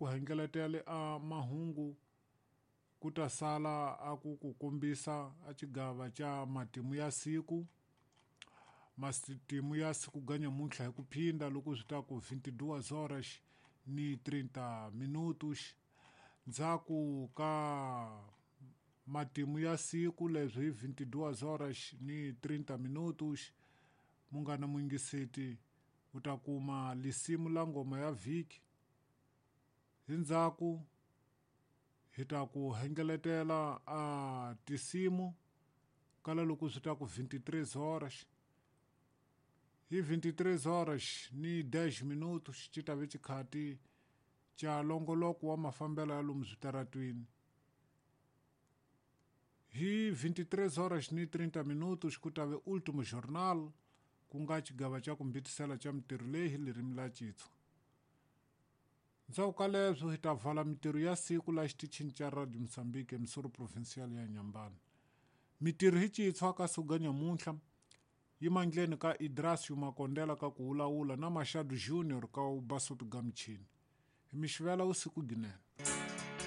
ku hengeletele a mahungu ku ta sala a ku ku kombisa a xigava xa matimu ya siku. Matimu ya siku ga nyamuntlha hi ku phinda loko swi ta ku 22 horas ni 30 minutos. Ndzhaku ka matimu ya siku leswi hi 22 horas ni 30 minutos, munghana muyingiseti u ta kuma lisimu la ngoma ya vhiki. Hi ndzhaku hi ta ku hengeletela a tisimu kala loko swi ta ku 23 horas. Hi 23 horas ni 10 minutos xi ta ve xikhati xa longoloko wa mafambelo ya lomu switaratwini. Hi 23 horas ni 30 minutos ku ta ve Ultimo Jornal, ku nga xigava xa ku mbitisela xa mitirho leyi hi ririmi la Xitsonga. Ndzhaku ka leswo hi ta vala mitirho ya siku la xitichini xa Radio Mozambique emisoro provincial ya Nyambani. Mitirho hi Xitsonga ka siku ga nyamuntlha yi mandleni ka Idrasio Makondela ka ku wulawula na Machado Junior ka u basopi ga michini. Hi mi xivela usiku ginene.